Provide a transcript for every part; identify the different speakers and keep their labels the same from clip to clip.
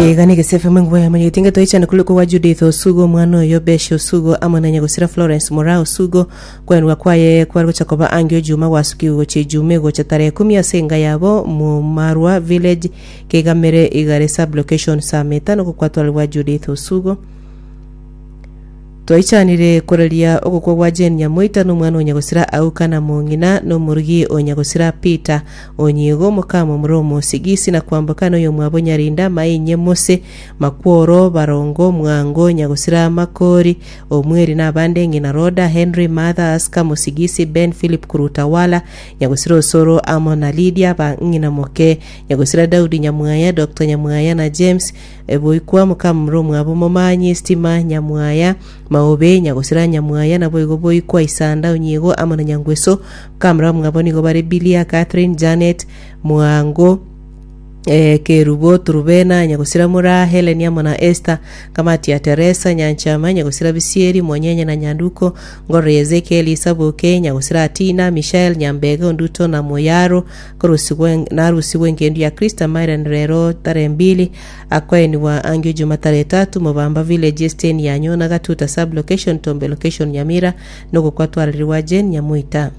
Speaker 1: Eye nigo esefemu enguba ya Mwanyagetinge toichane korwa kwa Judith Osugo omwana oyo Beshi Osugo amo na nyagosira Florence Moraa Osugo kwenwa kwaye kware gocha koba angio Juma gwasukigwe gochia Ijumaa egocha tarehe kumi ase enka yabo Mumarwa Village Kegamere Igare Sub Location Sameta nogokwatwarigwa Judith Osugo Twaichanire koraria ogokwa gwa Jane Nyamoita na omwana o nyagosira Auka na mong'ina na omorugi o nyagosira Peter Onyigo mokamomura omosigisi na kwamboka noyomwabo Nyarinda Mainye Mose Makworo Barongo Mwango Nyagosira Makori Omweri na abande ng'ina Roda Henry Martha Aska Mosigisi Ben Philip Kurutawala Nyagosira Osoro amo na Lydia ba ng'ina moke Nyagosira Daudi Nyamwaya Doctor Nyamwaya na James Boikwa mokamomura omwabo Momanyi Stima Nyamwaya Maobe Nyagosira Nyamwaya naboigo Boikwa Isanda Onyiego amo na Nyangweso Mokamura omwabo nigo bare Bilia Catherine Janet Mwango eh, Kerubo Turubena Nyagosira Mura Helen amo na Esther Kamati ya Teresa Nyanchama Nyagosira Bisieri Monyenye na Nyanduko Ngororo ya Ezekiel Isaboke Nyagosira Atina Mishael Nyambege Onduto na Moyaro Korusigwa narusigwe engendu ya Krista Myron rero tarehe mbili akoenigwa angio juma tarehe tatu Mobamba village esiteni ya Nyona Gatuta sub location Tombe location Nyamira nogokwa twarerigwa Jane Nyamoita.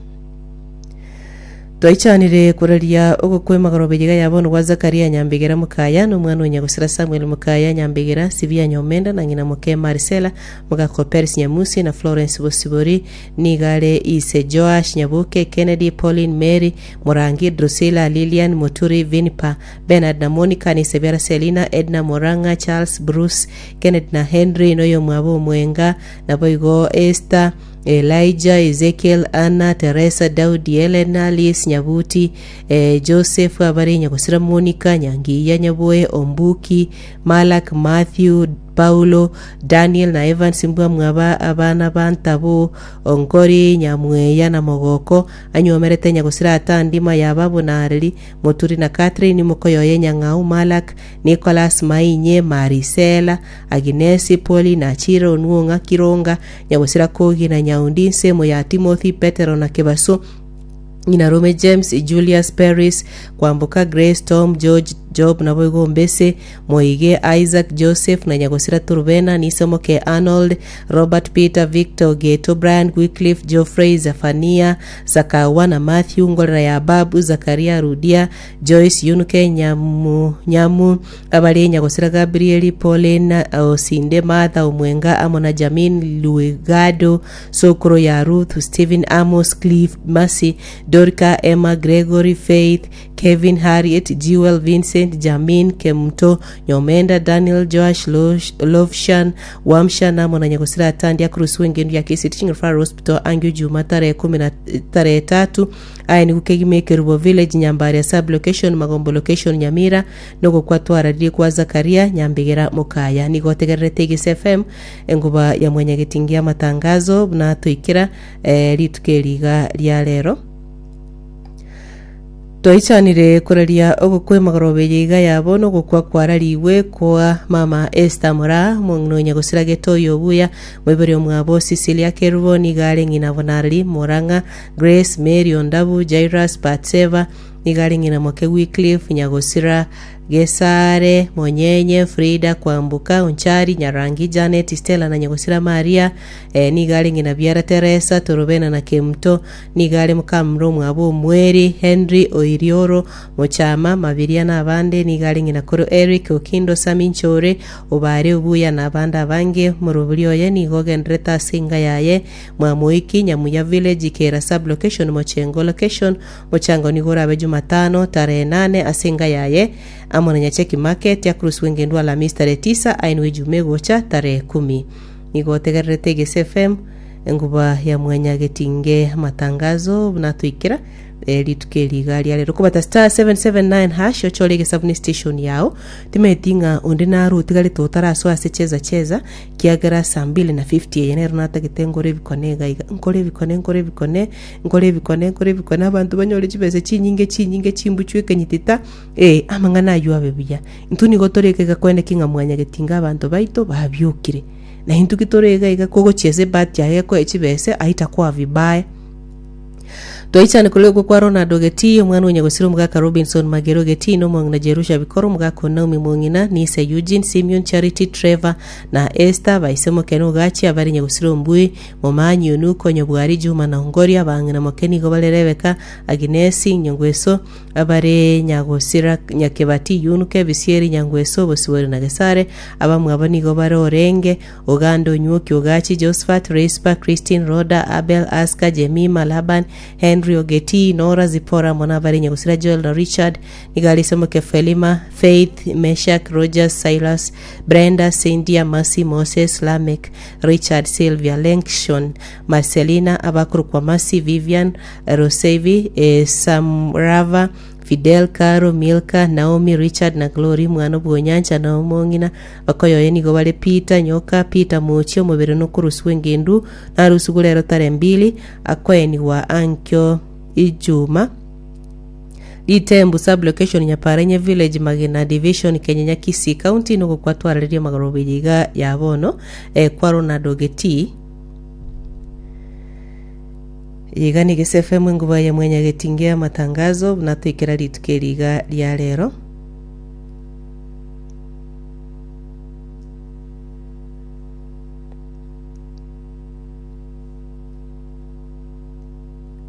Speaker 1: Twaichanire koraria ogokwa emagoroba eyeiga ya bono gwa Zakaria Nyambegera Mokaya na omwana o nyagosira Samuel Mokaya Nyambegera Sibia Nyomenda na ng'ina moke Marisela Mogako Peris Nyamusi na Florence Bosibori Nigo are ise Joash, Nyaboke, Kennedy, Pauline, Mary, Morangi, Drusilla, Lilian, Moturi, Vinpa, Bernard na Monica, na ise biara Selina, Edna, Morang'a, Charles, Bruce, Kennedy na Henry, na oyomwabo Omwenga, naboigo Esther, Elijah, Ezekiel, Anna, Teresa, Daudi, Helen, Alice, Nyabuti, eh, Joseph, abare Nyagosira, Monica, Nyangiya, Nyaboe, Ombuki, Malak, Matthew, Paulo, Daniel na Evans mbwamwaba abana ba Ntabo, Onkori, Nyamweya na Mogoko, anywomerete nyagosira Atandima ya Babu na Areli, Moturi na Catherine, mokoyoye Nyang'au, Malak, Nicholas, Mainye, Marisela, Aginesi, Poli na Achira, Onuong'a, Kironga, Nyagosira Kogi na Nyaundi, nsemo ya Timothy, Petero na Kebaso, Ng'ina Rome James, Julius Peris, Kwamboka Grace, Tom, George, Job naboigo Mbese, Moige, Isaac, Joseph na Nyagosira Turubena, Nisomoke Arnold, Robert Peter, Victor Ogeto, Brian Wycliffe, Geoffrey, Zephania, Sakawa na Matthew, Ngorera ya Babu, Zakaria Rudia, Joyce Yunuke, Nyamu, Nyamu, abare Nyagosira Gabrieli, Pauline Osinde, Martha Omwenga amo na Jamin Luigado, Sokoro ya Ruth, Stephen Amos, Cliff, Mercy, Dorca, Emma, Gregory, Faith, Kevin, Harriet, Jewel, Vincent, Jamin, Kemunto, Nyomenda, Daniel, Joash, Losh, Lovshan, Wamsha, namo na Nyagosira Atandi akorosigwa engendu ya Kisii Teaching Referral Hospital angio Juma tarehe kumi na tarehe tatu aye nigo kegima Ekerubo Village Nyambaria Sub Location Magombo Location Nyamira nogokwa twararirie kwa Zakaria Nyambegera Mokaya nigo otegererete Egesa FM Enguba ya mwanyagetingi amatangazo buna toikera eh, rituko eri iga ria rero. Twaichanire koraria ogokwa emagoroba eye iga ya bono ogokwa kwararigwe kwa mama Esther Moraa omong'ina o nyagosira Getoyi Obuya moibori omwabo Cecilia Kerubo nigo are ng'ina Bonareri Morang'a Grace Mary Ondabu Jairus Batseba nigo are ng'ina moke Wycliffe Nyagosira Gesare, Monyenye, Frida, Kwamboka, Onchari, Nyarangi, Janet, Stella na Nyagosira Maria, eh, nigo are ng'ina biara Teresa, Torobena na Kemuto, nigo are mokamura omwabo Omweri, Henry, Oirioro, Mochama, Mabiria na abande, nigo are ng'ina koro Eric, Okindo, Sami Nchore, Obare, Obuya na abande abange. Omorobori oye nigo ogenderete ase enga yaye, Mwamoiki, Nyamuya Village, Kera Sub-location, Mochengo Location, Mochango nigo orabe Jumatano tarehe nane ase enka yaye amo na Nyacheki Market akorosigwe engendu Alamisi tarehe tisa ainwe Ejuma egocha tarehe kumi. Nigo otegererete Egesa FM enguba ya mwanyagetinge amatangazo buna toikera eh, rituko eri iga ria rero kobata star 779 hash ochore egesabuni station yao timeti ng'a onde naro otigarete otarasoa ase cheza cheza kiagera saa mbili na 50 eye nero natagete ngore ebikone iga iga nkore ebikone nkore ebikone Nkore ebikone, nkore ebikone, abanto banyore chibesa chinyinge chinyinge chimbuchwe ekenyitita, ee, amang'ana ayio abe buya. Intwe nigo tore iga iga koeneki ng'a mwanyagetinga abanto baito babiokire. Na intwe ki tore iga iga kogochia ase ebahati yaye ekoe chibesa aitakoa vibaya. Twaichane korwa okwo kwa Ronald Ogetii, omwana o Nyagosira omogaka Robinson Magere Ogetii, na omong'ina Jerusha Bikoro, omogaka o Naomi Mong'ina, Nise Eugene, Simeon, Charity, Trevor, na Esther, baise Mokene Ogachi, abare Nyagosira Ombui, Momanyi, Onuko, Nyobwari, Juma na Ongoria, abang'ina Moke nigo bare Rebeka, Aginesi, Nyangweso, abare Nyagosira Nyakebati, Yunuke, Bisieri, Nyangweso, Bosibori na Gesare, abamwabo nigo bare Orenge, Oganda Onywoki Ogachi, Josephat, Rispa, Christine, Rhoda, Abel, Aska, Jemima, Laban, Henry, Ogetii, Nora, Zipporah, amo nabare Nyagusira Joel na Richard, nigo are ise moke Felima, Faith, Meshak, Rogers, Silas, Brenda, Cynthia, Mercy, Moses, Lameck, Richard, Sylvia, Lenkshon, Marcelina, abakorokwa Mercy, Vivian, Rosevi, eh, Samrava, Fidel, Caro, Milka, Naomi, Richard na Glory, mwana bw'onyancha na omong'ina bakoyoye nigo bare Peter, Nyoka, Peter Mochie, omobere nokorosigwa engendu, narusigwe rero tarehe mbili, akoenigwa ankio Ijuma. Ritembu sub-location Nyaparenye village Magena division Kenyenya Kisii county nogokwa twarareria amagoroba eye iga ya bono eh, kwa Ronald Ogetii. Iga nigo SFM enguba ya mwanyagetinga ya amatangazo buna toikera rituko eri iga ria rero.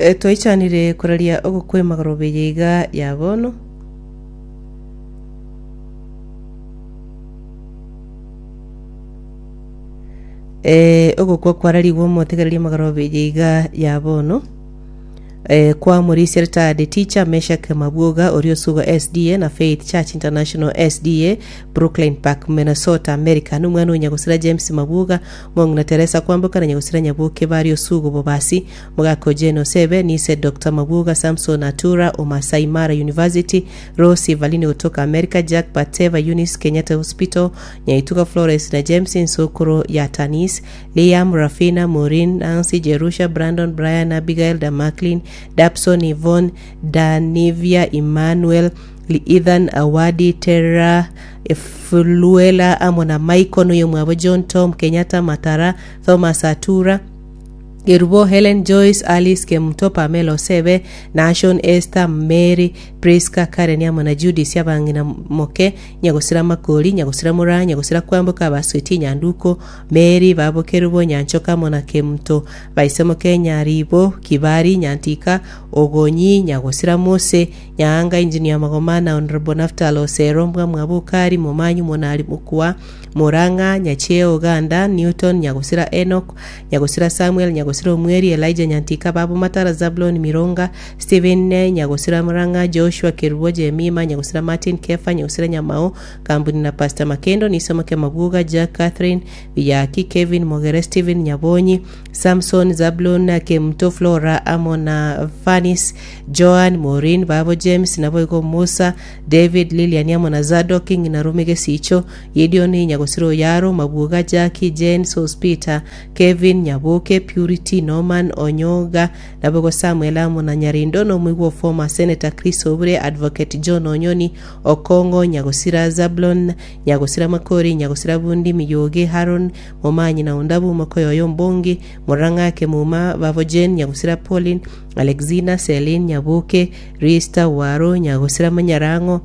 Speaker 1: Eh, twaichanire koraria ogokwa emagoroba eye iga ya bono. Eh, ogokwa kwararigwe omotegereria amagoroba eye iga ya bono eh, kwa Morisia retired teacher Meshak Mabwoga oria osuga SDA na Faith Church International SDA Brooklyn Park Minnesota America nomwana o Nyagosira James Mabwoga Mong'ina Teresa Kwamboka na Nyagosira Nyaboke bari osugo Bobasi Mogaka Ojene Osebe Nise Dr. Mabwoga Samson Atura o Masai Mara University Rose Evalini gotoka America Jack Bateva Eunice Kenyatta Hospital Nyaituga Florence na James ensokoro ya Tanis, Liam, Rafina, Maureen, Nancy, Jerusha, Brandon, Brian, Abigail, Damaclin, Dabson, Yvonne, Danivia, Emmanuel, Ethan, Awadi, Terra, Fluela amo na Michael noyomwabo John, Tom, Kenyatta, Matara, Thomas Atura, Gerubo, Helen, Joyce, Alice, Kemunto, Pamela, Osebe, Nashon, Esther, Mary, Prisca, Karen amo na Judith abang'ina moke, Nyagosira Makori, Nyagosira Moraa, Nyagosira Kwamboka, Abasweti, Nyanduko, Mary, Babo Kerubo, Nyanchoka amo na Kemunto, Baise moke, Nyaribo, Kibari, Nyantika, Ogonyi, Nyagosira Mose, Nyaanga, Engineer Magoma na Honourable Naphtal Osero, Mbwa Mwabukari, Momanyi, Monari, Mokua, Murang'a, Nyacheo, Uganda, Newton, Nyagosira Enock, Nyagosira Samuel, Nyagosira Omweri, Elijah Nyantika, Babu Matara, Zablon Mironga, Stephen Nyagosira Murang'a, Joshua Kerubo, Jemima, Nyagosira Martin, Kefa, Nyagosira Nyamao, Kambuni na Pastor Makendo, Nisomoke Mabuga, Jack Catherine, Biyaki, Kevin Mogere, Stephen Nyabonyi, Samson, Zablon, Kemuto, Flora, amo na Fanis, Joan, Maureen, Babo James, naboigo Musa, David, Lilian amo na Zadok, ng'ina Rumi Gesicho, Gideon, Nyagosira Oyaro, Mabuga, Jackie, Jane, Sospeter, Kevin, Nyaboke, Purity, Norman, Onyoga, naboigo Samuel amo na Nyarindo, na omoigwa o former Senator Chris Obure, Advocate John Onyoni, Okong'o, Nyagosira Zablon, Nyagosira Makori, Nyagosira Bundi, Miyoge, Haron, Momanyi na Ondabu, Mokoyoyo Ombongi, Morang'a, Kemuma, Babo Jane, Nyagosira Pauline, Alexina, Celine, Nyaboke, Rista, Waro, Nyagosira Manyarang'o,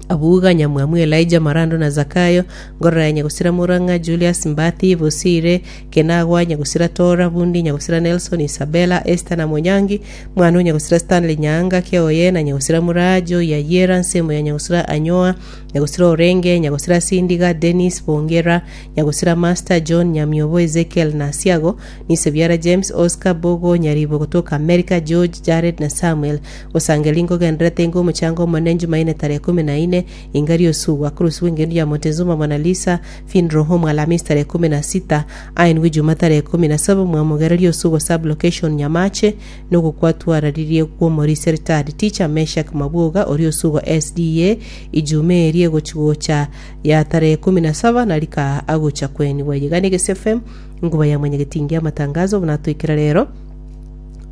Speaker 1: Abuga, Nyamwamu, Elijah, Marando na Zakayo, Ngorora ya Nyagosira Murang'a, Julius, Mbathi, Bosire, Kenagwa, Nyagosira Tora, Bundi, Nyagosira Nelson, Isabella, Esther na Monyangi, Mwana o Nyagosira Stanley Nyaanga, Keoye na Nyagosira Murajo, Yayera, Nsemo ya Nyagosira Anyoa, Nyagosira Orenge, Nyagosira Sindiga, Dennis, Bongera, Nyagosira Master, John, Nyamiobo, Ezekiel na Asiago, Nisebiara James, Oscar, Bogo, Nyaribo gotoka America, George, Jared na Samuel. Gosangeri nkogenderete inga omochango omonene Jumaine tarehe ikomi na ine, inga riosugwa korosigwa engendu ya Montezuma Mona Lisa Funeral Home Alhamisi tarehe kumi na sita, aenigwe Ijuma tarehe kumi na saba mwamogera riosugwa sub location Nyamache nogokwatwararirie kw'omorisia retired teacher Meshack Mabwoga oria osugwa SDA Ijuma eria egochi gocha ya tarehe kumi na saba na rika agocha kwenigwa. Iga ne Gese FM enkuba ya mwanyagetingi amatangazo buna toikera rero.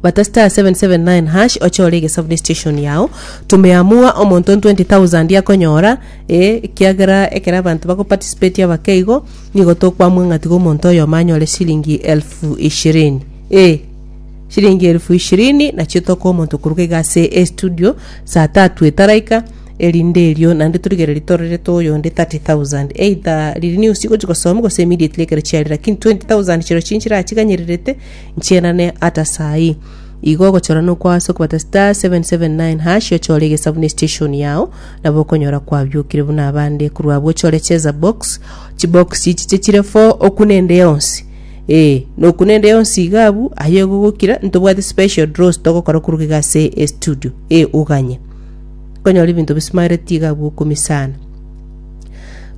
Speaker 1: Bata star 779 hash ochore egesabu station yao tumeamua omonto 20000 akonyora eh ekiagera ekero abanto bako participate abake igo nigo tokwamua ng'a tiga omonto oyomo anyore shilingi elfu ishirini eh. Chiringi elfu ishirini nachio tokoa omonto koruga iga ase estudio saa tatu etaraika erinde erio naende torigererie tororete oyonde 30,000 either riria news chigochi gosoma gose immediately ekero chiarire lakini 20,000 chirochio nchirachiganyererete nchienane ata saa hii. Igo ogochora nokwa ase okobata *779# ochore egesabu ne station yao nabo okonyora kwabiokire buna abande korwa abwo ochore cheza box chibox chiche chire four okune ende yonsi Ee, nokuna ende yonsi iga abwo, aye ogogokira, ntobwate special draws togokora korwa iga ase estudio. Ee, oganye. Okonyora ebinto bisimaereti iga abwo okumia sana.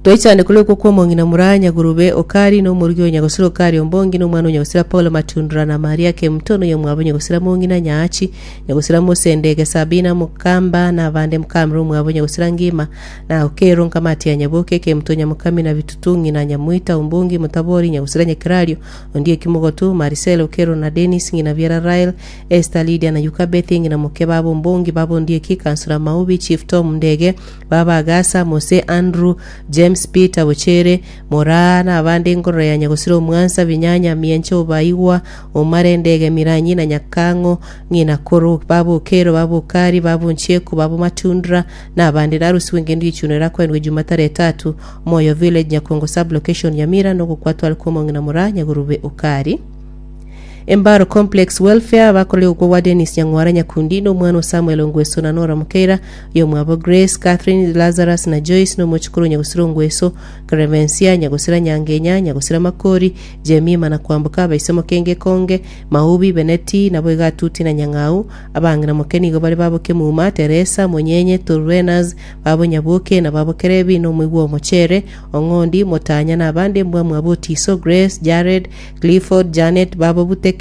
Speaker 1: Twaichane korwa okwo kwa omong'ina Muraya Nyagurube Okari, na omorugi o Nyagosira Okari Ombongi, na omwana o Nyagosira Paulo Matundura, na Maria Kemuto, na oyomwabo Nyagosira Mong'ina Nyaachi, Nyagosira Mosendege Sabina Mokamba, na abande Mokamira omwabo Nyagosira Ngima, Na Okero nkamati ya Nyaboke, Kemuto Nyamokami na Bitutu, ng'ina Nyamoita, Ombongi, Motabori, Nyagusira Nyakerario, Ondieki Mogotu, Marisela, Okero na Denis, ng'ina biara Rael, Esther, Lydia na Yukabeth, ng'ina moke babo Ombongi, baba Ondieki, Kansura Maubi, Chief Tom Ndege, baba Agasa, Mose, Andrew, James, Peter, Bochere, Moraa, na abande Nkorora ya Nyagusira Omwansa, Binyanya, Mienche, Obaigwa, Omare, Ndege, Miranyi na Nyakang'o, ng'ina Koro, baba Okero, baba Okari, baba Onchieko, baba Matundra, Na abande narusigwe engendo y'echiuno erakoenwe Jumataro etatu, Moyo Village, Nyakongo Sub-location, Nyamira, nogokwatwa are kw'omong'ina Moraa Nyagurube Okari. Embaro Complex Welfare bakorire ogokwa gwa Dennis Nyang'wara Nyakundi na omwana o Samuel Ongweso na Nora Mokeira, oyomwabo Grace, Catherine, Lazarus na Joyce na omochukuru o Nyagusira Ongweso, Clemencia, Nyagusira Nyangenya, Nyagusira Makori, Jemima na Kwamboka, abaise Mokenge Konge, Maubi, Beneti, naboigo Atuti na Nyang'au, Abang'ina moke nigo bare babo Kemuma, Teresa, Monyenye, Turwenas, babo Nyaboke, na babo Kerebi, na omoigwa Omochere, Ong'ondi, Motanya, na abande mbwa mwabo Otiso, Grace, Jared, Clifford, Janet, babo Buteke,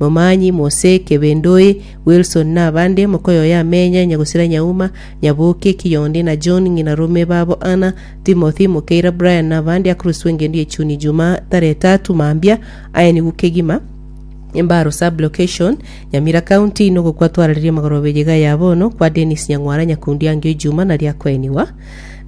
Speaker 1: Momanyi, Mose, Kebendoi, Wilson, na abande, mokoyoyo Amenya, Nyagosira Nyauma, Nyaboke, Kiyondi, na John, ng'ina rome babo Anna, Timothy, Mokeira, Brian, na abande akoroswa engendu ye chuni Juma tarehe tatu mambia, aye nigo kegima. Embaro Sub-location, Nyamira County, nogokwa twarareria magoroba eyeiga ya bono kwa Dennis Nyang'wara Nyakundi Angio Ijuma naria akoeniwa.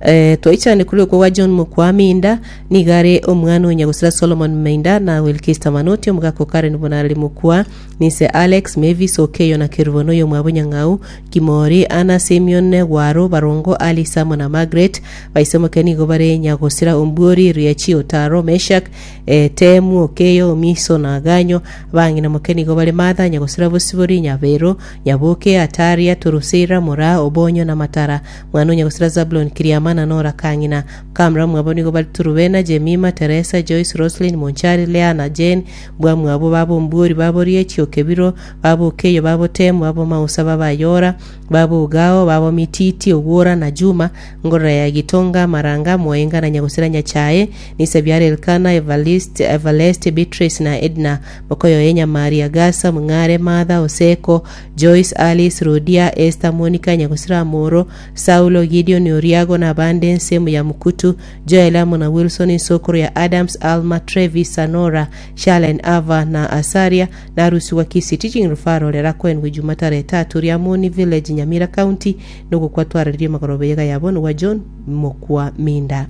Speaker 1: Eh, twaichane kuri okwo gwa John Mokwa Minda nigo are omwana o Nyagosira Solomon Mainda na Wilkista Manoti omogaka o Karen Bonareri Mokwa Nise Alex Mavis Okeyo na Kerubo noyo omwabo Nyang'au Kimori Anna Simeon Gwaro Barongo Alice amo na Margaret Baisemoke nigo bare Nyagosira Ombuori Riachi Otaro Meshak Etemu, Okeyo, Omiso, na Aganyo. Abang'ina moke nigo bare Martha, Nyagosira Bosibori, Nyabero, Nyaboke, Ataria, Torosera, Moraa, Obonyo, na Matara. Mwana o Nyagosira Zabulon, Kiriama, na Nora Kang'ina. Kamra mwabo nigo bare Turubena, Jemima, Teresa, Joyce, Roslyn, Monchari, Lea, na Jane. Mbwamwabo babo Ombuori, babo Riachi, Okebiro, babo Okeyo, babo Temu, babo Mausa, babo Ayora, babo Ogao, babo Mititi, Ogwora, na Juma, Ngorora ya Gitonga, Maranga, Moenga, na Nyagosira Nyachae. Nisabiare Elkana, Evalist, Evaleste, Beatrice na Edna, mokoyoye Nyamari, Agasa, Mong'are, Martha, Oseko, Joyce, Alice, Rodia, Esther, Monica, Nyagosira Amoro, Saulo, Gideon, Oriago na abande ensemo ya Mukutu, Joel amo na Wilson, ensokoro ya Adams, Alma, Trevis, Sanora, Sharlen, Ava na Asaria, na Arusi Kisii Teaching Referral erakoenwe Juma tarehe tatu, Riamoni Village, Nyamira County, nogokwa twararerie magoroba eyega ya bono gwa John Mokwa Minda.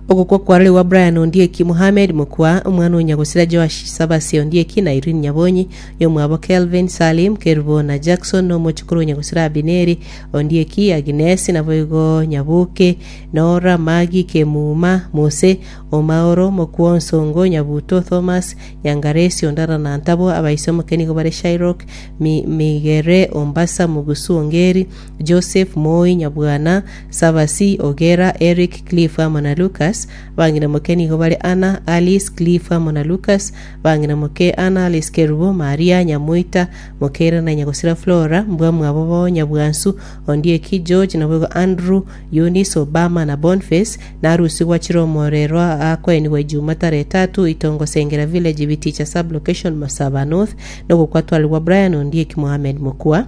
Speaker 1: Ogokwa kwarorigwa gwa Brian Ondieki Mohamed Mokwa, omwana o Nyagosira Joash Sabasi Ondieki na Irene Nyabonyi, oyomwabo Kelvin, Salim, Kerubo na Jackson, na omochokoro o Nyagosira Abineri Ondieki, Agnes, naboigo Nyaboke, Nora, Maggie, Kemuma, Mose, Omaoro, Mokwa Onsongo, Nyabuto, Thomas, Nyangaresi, Ondara na Ntabo, abaise omoke nigo bare Shairok, Mi, Migere, Ombasa, Mugusu, Ongeri, Joseph, Moi, Nyabwana, Sabasi, Ogera, Eric, Cliff amo na Lucas. Abang'ina moke nigo bare Anna, Alice, Cliff amo na Lucas. Abang'ina moke Anna, Alice Kerubo, Maria, Nyamoita, Mokeira na Nyagosira Flora, mbwa mwabo bo Nyabwansu, Ondieki, George, naboigo Andrew, Eunice, Obama na Boniface, narusigwa gwachire omorero akoenigwa Ijuma tarehe tatu, Itongo Sengera Village, Biticha Sub-location, Masaba North, nogokwa twarigwa Brian Ondieki Mohamed Mokua.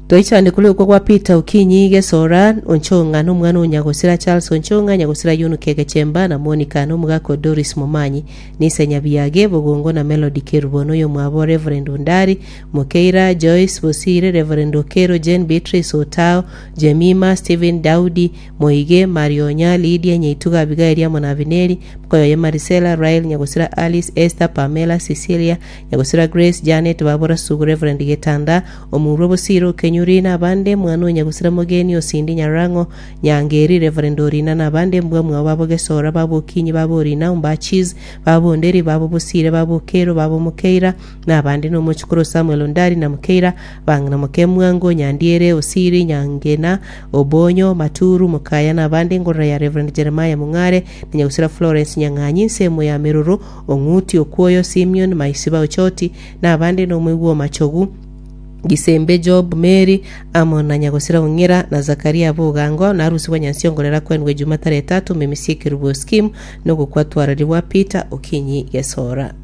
Speaker 1: Toichande korwa gwa Peter Okinyi Gesora Onchong'a na omwana o Nyagosira Charles Onchong'a, Nyagosira Yunuke Gechemba na Monica na omogaka o Doris Momanyi, Nise Nyabiage, Bogongo na Melody Kerubo na oyomwabo Reverend Ondari, Mokeira, Joyce Bosire, Reverend Okero, Jane Beatrice Otao, Jemima, Stephen Daudi, Moige, Marionya, Lydia, Nyaituga, Abigaeli amo na Abineri, mokoyoye Marisela, Rael, Nyagosira Alice, Esther, Pamela, Cecilia, Nyagosira Grace, Janet, Babora Sugu, Reverend Getanda, Omurwa Bosire Okenyuri, na abande, mwana o Nyagosira Mogeni, Osindi Nyarang'o, Nyangeri, Reverend Orina, na abande, mbwa mwabo babo Gesora, babo Okinyi, babo Orina, Ombachis, babo Onderi, babo Bosire, babo Okero, babo Mokeira, na abande, na omochukuru Samuel Ondari, na Mokeira, bang'ina Mokemwango, Nyandiere, Osiri, Nyangena, Obonyo, Maturu, Mokaya, na abande, ngorora ya Reverend Jeremiah Mong'are, na Nyagosira Florence Nyang'anyi, ensemo ya Meroro, Ong'uti, Okwoyo, Simeon, Maisiba, Ochoti, na abande, na omoigwa o Machogu, Gisembe, Job, Mary, amo na Nyagosira Ong'ira, na Zakaria Bogango, na Arusi bwa Nyansiongorera kwenwe Jumatare etato, Memisi Ekerubo Scheme, na ogokwa twararibwa Peter Okinyi Gesora.